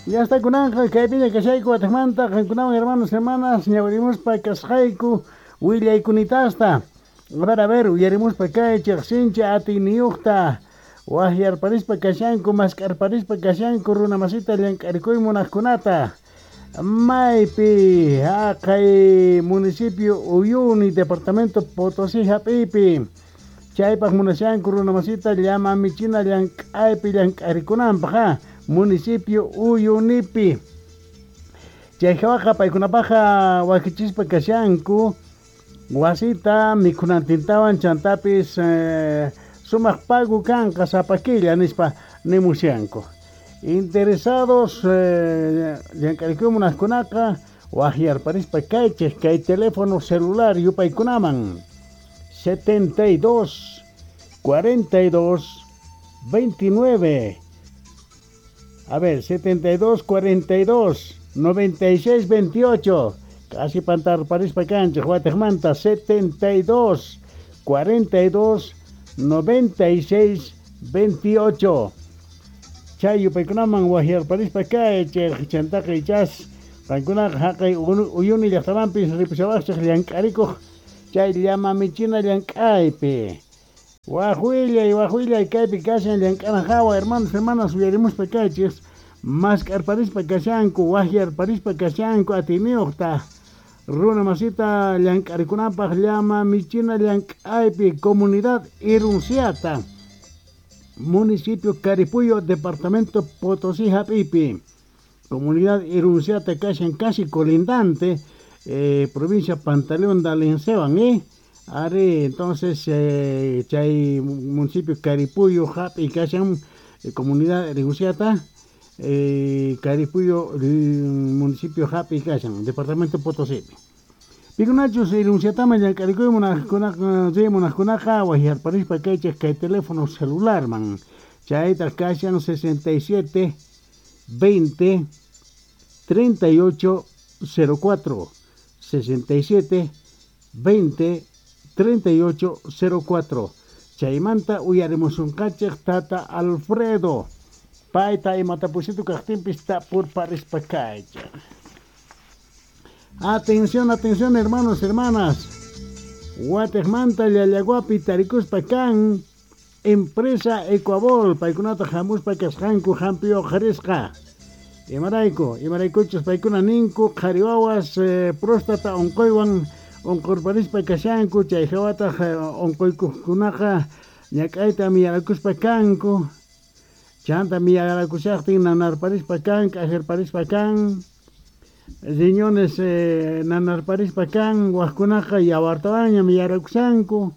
Ya está kunanqa kaypiña kashayku watejmanta qankunawan hermanos hermanas ñawirimuspa kasqayku willaykunitasta. A ver, uyarimuspa kaychej sinchi atiyniyuqta waqyarparispa kashanku mask'arparispa kashanku runa masita llank'arikuy munaqkunata. Maypi haqay municipio Uyuni departamento Potosí hap'iypi chaypaq munashanku runa masita llama michina llank'aypi llank'arikunanpaq municipio Uyunipi. Chay hawaqa paykunapaqa wakichispa kashanku wasita mikhunantintawan chantapis sumaq pago kanqa sapa killa nispa nimushanku. Interesados llank'arikuy munaqkunaqa waqyarparispa kaychej kay teléfono celular yupaykunaman 72 42 29. A ver, 72 42 96 28. Casi pantarparispa kanchej watejmanta 72 42 96 28. Chay yupaykunaman waqyarparispa kaychej chantaqa ichas qankunaqa haqay Uyuni llaqtamanpis ripushawaqchej llank'arikuq chay llama michina llank'aypi. Waq willay kaypi kashan llank'ana hawa hermanos hermanas uyarimuspa kaychej mask'arparispa kashanku waqyarparispa kashanku atiyniyuqta runa masita llank'arikunapaq llama michina llank'aypi comunidad Irunciata municipio Caripuyo departamento Potosí hap'ipi. Comunidad Irunciata kashan casi colindante provincia Pantaleón de Alenceban. Ari, entonces chay municipio Caripuyo hap'i kashan comunidad Irunciata Caripuyo municipio hap'i kashan departamento Potosí. Pikunachus Irunciataman llank'arikuy munaqkunaqa riy munaqkunaqa waqyarparispa kaychej kay teléfono celularman chaytaq kashan 67 20 38 04 67 20 38 04. Chaymanta uyarimusunqachej tata Alfredo payta imatapusitu kaqtinpis tapurparispa kaychej. Atención, atención, hermanos, hermanas. Watejmanta Llallaguapi tarikuspa kan empresa Ecuabol paykunata hamuspa kasqanku hampi uqharisqa. Imarayku, imaraykuchus paykuna ninku qhari wawas próstata unquywan unqurparispa kashanku chay hawataq unquykuqkunaqa ñak'ayta miyarakuspa kanku chanta miyarakushaqtin nanarparispa kan k'ajarparispa kan riñones nanarparispa kan waqkunaqa yawartawanña miyarakushanku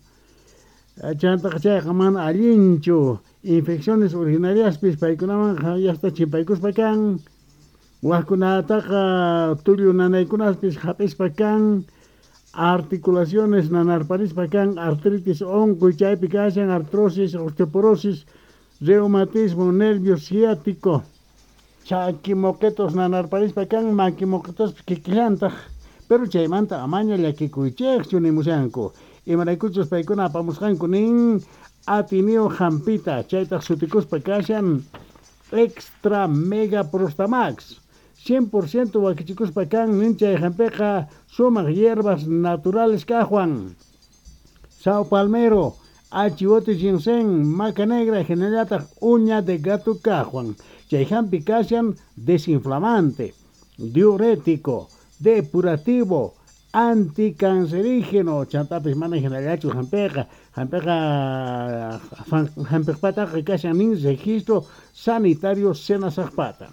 chantaqa chayqa mana allinchu infecciones urinariaspis paykunaman yasta chimpaykuspa kan waqkunataqa tullu nanaykunaspis hap'ispa kan articulaciones nanarparispa kan artritis unquy chaypi kashan artrosis osteoporosis reumatismo nervio ciático chaki moquetos nanarparispa kan maki moquetospis kikillantaq pero chaymanta amaña llakikuychejchu nimushanku imaraykuchus paykuna apamusqanku nin atiniyuq hampita chaytaq sutikuspa kashan extra mega prostamax 100% wakichikuspa kan nin chay hampiqa sumaq hierbas naturales kaqwan sao palmero achiwote ginseng maca negra hinallataq uña de gato kaqwan chay hampi kashan desinflamante diurético depurativo anticancerígeno chantapis mana hinallachu hampiqa hampiqa hampiqpataqa kashan nin registro sanitario senasaqpata.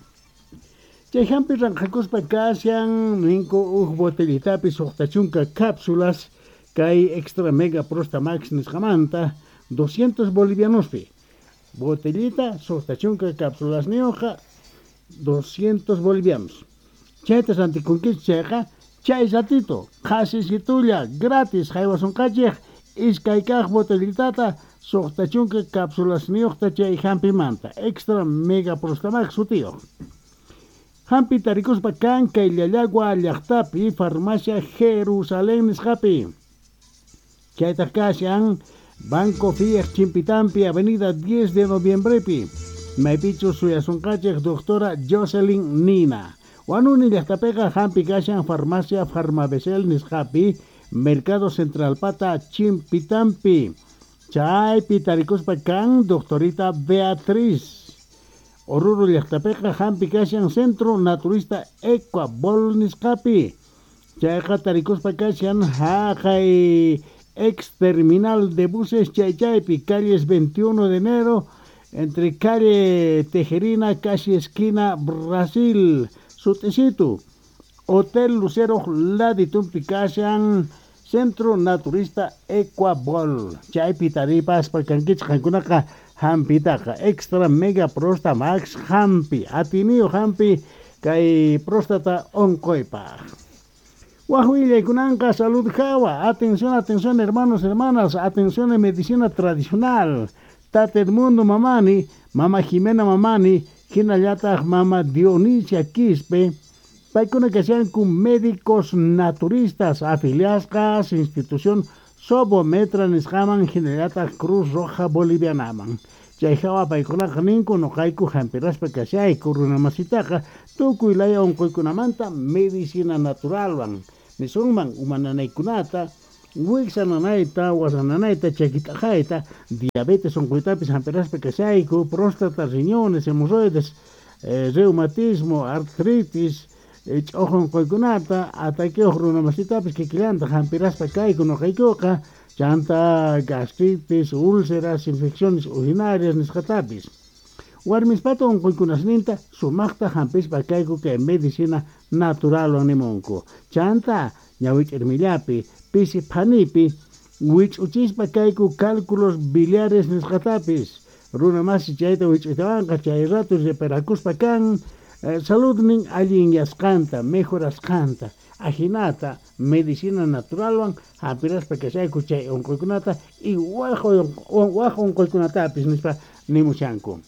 Chay hampi ranqhakuspa kashan ninku uj botellitapi suqta chunka cápsulas kay extra mega prostamax nisqamanta 200 bolivianospi botellita suqta chunka cápsulas niyuqqa 200 bolivianos chayta rantikunkichik chayqa chay ratito qhasisitulla gratis haywasunqachej iskay kaq botellitata 60 cápsulasniyuqta chay hampimanta extra mega prostamax sutiyuq. Hampi tarikuspa kan kay Llallagua llaqtapi farmacia Jerusalén nisqapi. Chaytaq kashan Banco Fiat Chimpitampi, Avenida 10 de Noviembrepi. Maypichus suyasunqachej doctora Jocelyn Nina. Wanuni llaqtapiqa hampi kashan farmacia Farmabesel nisqapi, Mercado Central pata Chimpitampi. Chaypi tarikuspa kan doctorita Beatriz. Oruro llaqtapiqa hampi kashan Centro Naturista Ecuabol nisqapi. Chayqa tarikuspa kashan haqay ex terminal de buses Chaychaypi, calles 21 de enero, entre calle Tejerina, casi esquina Brasil, sutisitu. Hotel Lucero laditumpi kashan Centro Naturista Ecuabol. Chaypi taripaspa kankichik qankunaqa hampitaqa extra mega prosta max hampi, atiniyo hampi kay próstata onqoypaq. Waj willaykunanqa salud hawa. Atención, atención, hermanos, hermanas, atención en medicina tradicional. Tata Edmundo Mamani, Mama Jimena Mamani, hinallataq Mama Dionisia Quispe, paykuna kashanku médicos naturistas afiliasqas institución Sobometra nisqaman hinallataq Cruz Roja Bolivianaman. Chay hawa paykunaqa ninku noqayku hampiraspa kashayku runamasitaqa tukuy laya unquykunamanta medicina naturalwan nisunman uma nanaykunata, wiksa nanayta, wasa nanayta, chakit'aqayta, diabetes unquytapis hampiraspa kashayku, próstata, riñones, hemorroides, reumatismo, artritis, ch'uq unquykunata, ataqueoj runamasitapis kikillanta hampiraspa kayku noqaykuqa, chanta gastritis, úlceras, infecciones urinarias nisqatapis. Warmispata unquykunasninta sumaqta hampispa kayku kay medicina naturalwan nimunku. Chanta ñawich'irmillapi, pisi phanipi, wich'uchispa kayku cálculos biliares nisqatapis. Runa masi chayta wich'uytawanqa chay rato reparakuspa kan saludnin allinyasqanta, mejorasqanta. Ajinata medicina naturalwan hampiraspa kashayku chay unquykunata y waj unquykunatapis nispa nimushanku.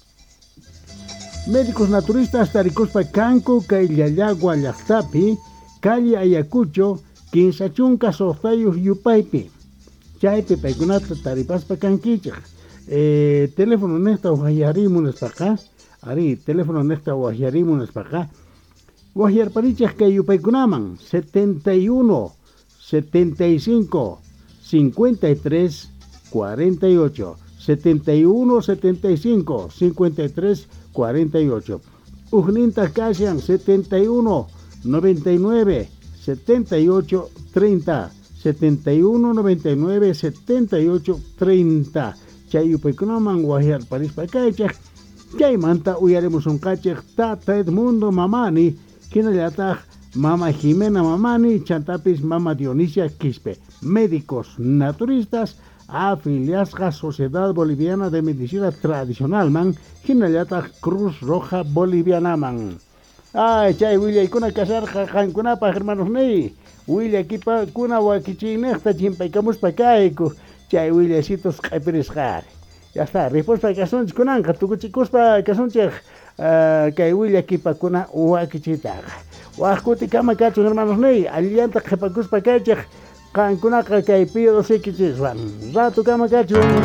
Médicos naturistas tarikuspa kanku kay Llallagua llaqtapi, calle Ayacucho, 56 yupaypi. Chaypi paykunata taripaspa kankichik. Teléfono niqta wajyarimu nispaqa, ari, teléfono niqta wajyarimu nispaqa, wajyarparichik kay yupaykunaman 71 75 53 48, 71 75 53 48. Ujninta kashan 71 99 78 30, 71 99 78 30. Chay yupaykunaman wajyarparispa kaychik. Chaymanta uyarimusunqachik Tata Edmundo Mamani, hinallataq Mama Jimena Mamani, chantapis Mama Dionisia Quispe, médicos naturistas afiliasqa Sociedad Boliviana de Medicina Tradicionalman, hinallataq Cruz Roja Bolivianaman. Ay, chay willaykuna kasharqa qankunapaq hermanos niy, willakipakuna wakichiynejta chimpaykamuspa kayku, chay willasitos q'epirisqari. Ya está, ripushpa kasunchik kunanqa, tukuchikuspa kasunchik kay willakipakuna wakichiytaqa. Waj kutikama kachun hermanos niy, allillanta qhipakuspa kaychik qankunaqa kay Pío Doce Rato kama kachun.